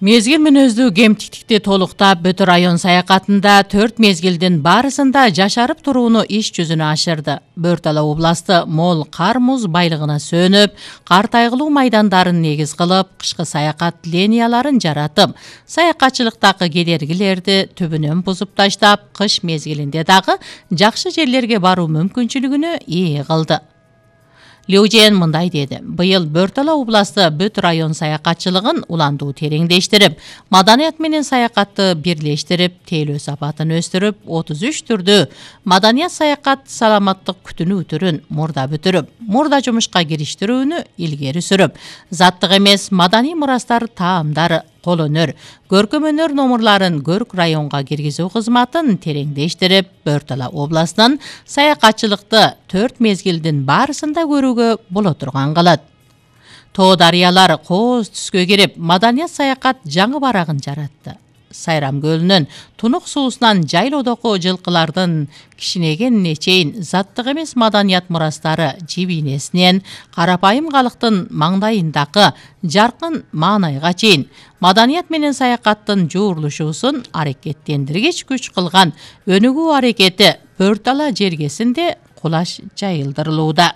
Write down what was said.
Мезгил мүнөздүү кемтиктикти толуктап, Бөтө район саякатында 4 мезгилдин барысында жашарып турууну иш жүзүнө ашырды. Бөр Тала областы мол кар-муз байлыгына сөнүп, кар тайгылуу майдандарын негиз кылып, кышкы саякат линияларын жаратып, саякатчылыктагы кедергилерди түбүнөн бузуп таштап, кыш мезгилинде дагы жакшы жерлерге баруу мүмкүнчүлүгүнө ээ кылды. Леужен мындай деди: быйыл Бөр Тала областы бүт район саякатчылыгын уландуу тереңдештирип, маданият менен саякатты бирлештирип, тейлөө сапатын өстүрүп, 33 түрдүү маданият саякат саламаттык күтүнүү түрүн мурда бүтүрүп, мурда жумушка кириштирүүнү илгери сүрүп, заттык эмес маданий мурастар таамдары, кол өнөр, көркөм өнөр номурларын көрк районга киргизүү кызматын тереңдештирип, Бөр Тала областынын саякатчылыкты 4 мезгилдин барысында көрүүгө боло турган кылат. Тоо дарыялар кооз түскө кирип, маданият саякат жаңы барагын жаратты. Сайрам көлүнүн тунук суусунан жайлоодогу жылкылардын кичинегенине чейин заттык эмес маданият мурастары жибинесинен карапайым калктын маңдайындагы жаркын маанайга чейин маданият менен саякаттын жуурулушуусун аракеттендиргич күч кылган өнүгүү аракети Бөр Тала жергесинде кулаш жайылдырылууда.